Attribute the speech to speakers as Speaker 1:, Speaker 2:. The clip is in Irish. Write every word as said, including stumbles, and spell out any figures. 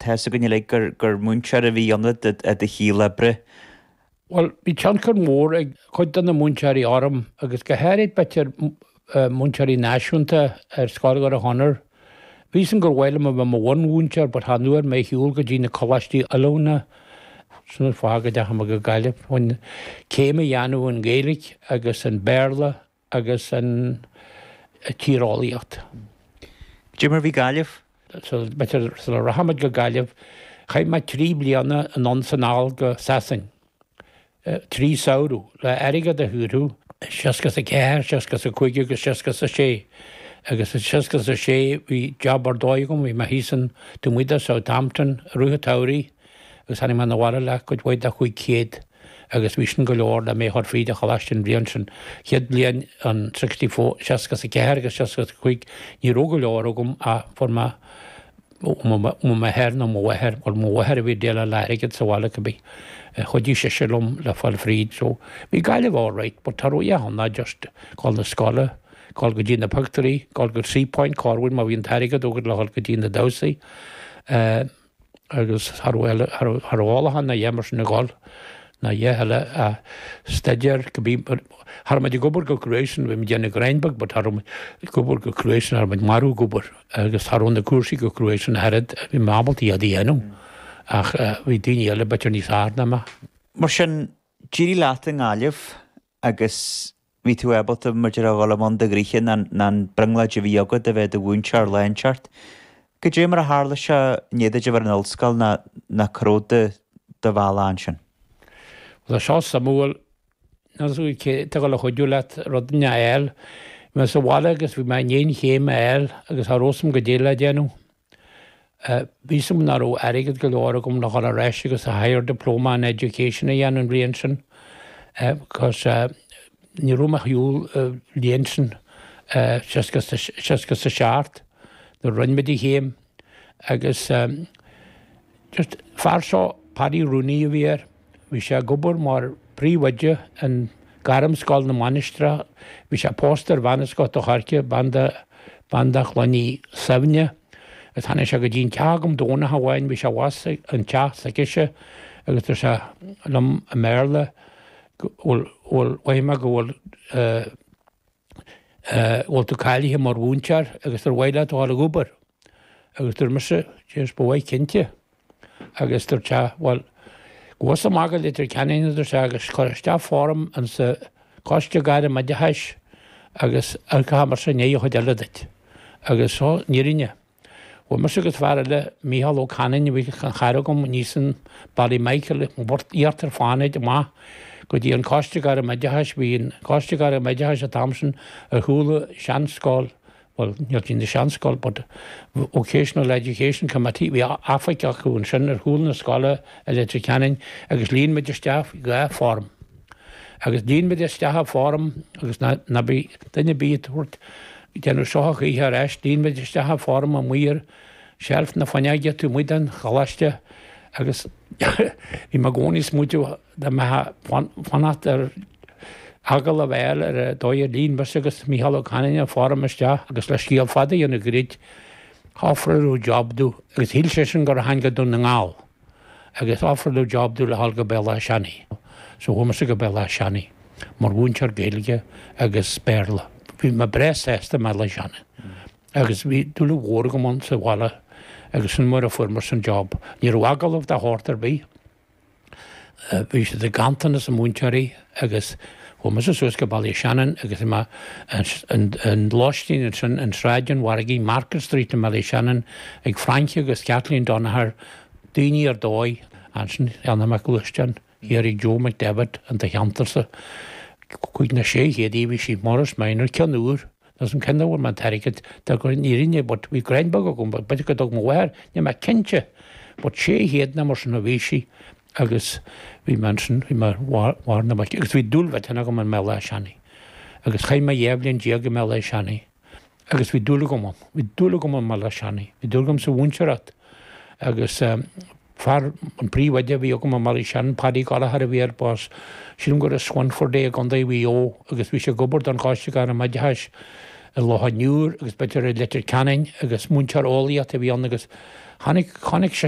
Speaker 1: Tá a fhios againn uilig gur gur múinteoir a bhí ionat i do shaol oibre.
Speaker 2: Bhuel, bhí tionchar mór ag cuid de na múinteoirí orm agus go háirid b'fhéidir múinteoirí náisiúnta ar Scoil Dhoire Chonaire. Bhí san gur mhaith liom a bheith i mo bhunmhúinteoir but chan fhuair mé shiúl go dtí na coláistí oiliúna sin an fáth go dteachaigh mé go Gaillimh chun céim a dhéanamh in Gaeilge agus an Béarla agus an tíreolaíocht.
Speaker 1: Cad é mar bhí Gaillimh?
Speaker 2: So b'fhéidir sula rachaimid go Gaillimh, chaith mé trí bliana anonn is anall go Sasain. Trí samhradh le airgead a shaothrú, seasca is a ceathair, seasca is a cúig agus seasca is a sé. Agus i seasca is a sé bhí job ar dóigh agam, bhí mé thíos in taobh amuigh de Southampton i rith an tsamhraidh agus tháinig mé 'na bhaile le cuid mhaith de chúig chéad agus bhí sin go leor le mé a chur fríd an choláiste an bhliain sin. Chéad bliain an sixty four, seasca is a ceathair agus seasca is a cúig ní raibh go leor agam ach fuair mé ó m'athair nó mo mháthair, bhuel mo mháthair a bhí ag déileáil le airgead sa bhaile cibé. Chuidigh sise liom le fáil fríd so bhí Gaillimh alright but tá rud ann ná just dul na scoile, dul go dtí na pictiúirí, dul go Seapoint corruair má bhí an t-airgead agat le dhul go dtí na damhsaí. Agus cha raibh cha raibh eolach ann ná a dhath mar sin ag dul ná a dhath eile a staidéar go bí cha raibh muid ag obair go cruaidh sin bhí muid ag déanamh greim beag but cha raibh muid ag obair go cruaidh sin cha raibh muid marbh ag obair agus cha raibh na cúrsaí go cruaidh sin ach oiread bhí mé ábalta iad a dhéanamh ach bhí daoine eile b'fhéidir níos fearr ná mé.
Speaker 1: Mar sin, d'éirigh leat i nGaillimh agus bhí tú ábalta mar a déarfá a dhul i mbun do ghnoithe ná an brionglóid a bhí agat a bheith i do mhúinteoir lá inteacht. Cad é mar a tharla sé i ndiaidh duit a bheith ar an ollscoil ná ná cá raibh do do bhealach ansin?
Speaker 2: Bhuel tá seo suimiúil, níl 'fhios agam cé atá ag dul a chuidiú leat rud a fháil. Bhí mé sa bhaile agus bhí mé i ndiaidh an chéim a fháil agus cha raibh 'fhios agam goidé le déanamh. Bhí 'fhios agam nach raibh airgead go leor agam le dhul ar ais agus a higher diploma in education a dhéanamh an bhliain sin because ní raibh mé ar shiúl an bhliain sin seasca seasca is a seacht nuair a rinne muid an chéim agus just fear seo Paddy Rooney a bhí air, bhí sé ag obair mar phríomhoide in Gairmscoil na Mainistreach, bhí sé pósta ar bhean as Gort a' Choirce, bean de bean de Chlann Uí Suibhne agus tháinig sé go dtí an teach agam Domhnach amháin, bhí sé abhus an teach s'aicise agus dúirt sé liom i mBéarla go bhfuil bhfuil mhothaigh mé go bhfuil eh eh bhfuil tú cáilithe mar mhúinteoir agus ar mhaith leat a dhul ag obair agus dúirt mise Jeez ba mhaith cinnte agus dúirt sé bhuel gabh amach go Leitir Ceanainn a dúirt sé agus cuir isteach form insa Coiste Gairm Oideachais agus amharcfaidh mise i ndiaidh an chuid eile duit. Agus seo an fhírinne. Chuaigh mise agus fear eile, Mícheál Ó Canainn, a bhí ina chara agam aníos in Ballymichael, Iarthar Fánaid amach go dtí an Coiste Gairm Oideachais. Bhí an Coiste Gairm Oideachais an t-am sin ar chúl an seanscoil, bhuel, níl sí ina seanscoil, but Vocational Education Committee, bhí oifig acu ansin ar chúl na scoile i Leitir Ceanainn agus líon muid isteach dhá form. Agus líon muid isteach an form agus ná ná bí duine ar bith ag tabhairt déanamh seo a choíche ar ais, líon muid isteach an form amuigh ar sheilf na fuinneoige taobh amuigh den choláiste agus bhí mé i gcónaí ag smaointiú dá mbeifeá fanacht ar agallamh a fháil ar an dóigh ar líon mise agus Mícheál Ó Canainn an form isteach agus le scéal fada a dhéanamh gairid, ofráladh job domh agus shíl seisean gur tháinig go Dún na nGall agus ofráladh job domh le dhul go Béal Átha Seanaidh. So chuaigh mise go Béal Átha Seanaidh mar mhúinteoir Gaeilge agus Béarla. Bhí mé breá sásta i mBéal Átha Seanaidh agus bhí dúil mhór agam ann sa bhaile agus sin mar a fuair mise an job. Ní raibh agallamh de shórt ar bith. Bhí siad i ganntanas múinteoirí agus chuaigh mise suas go Baile Shannon agus bhí mé an lóistín ansin in Sráid an Mhargaidh, Market Street i mBaile Shannon ag Frankie agus Kathleen Donaher, daoine ar dóigh. Ansin cheannaigh mé gluaisteán thiar ag Joe McDevitt in do cheantarsa. Cúig nó sé chéad í bhí sí Morris Minor ceann úr. Níl 'fhios a'm cén dóigh a bhfuair mé an t-airgead de gur an fhírinne but bhí greim beag agam but b'fhéidir go dtug mo mháthair, níl mé cinnte but sé chéad nó mar sin a bhí sí agus bhí mé ansin, bhí mé ar bharr na muice agus bhí dúil mhillteanach agam i mBéal Átha Seanaidh agus chaith mé dhá bhliain déag i mBéal Átha Seanaidh agus bhí dúil agam ann, bhí dúil agam i mBéal Átha Seanaidh, bhí dúil agam sa mhúinteoireacht agus fear an príomhoide a bhí agam i mBaile Shannon, Paddy Gallagher a bhí air, b'as, sílim gur as Swinford é i gContae Mhaigh Eo agus bhí sé ag obair don Choiste Gairm Oideachais i Loch an Iúir agus b'fhéidir i Leitir Ceanainn agus múinteoir eolaíochta a bhí ann agus tháinig, chonaic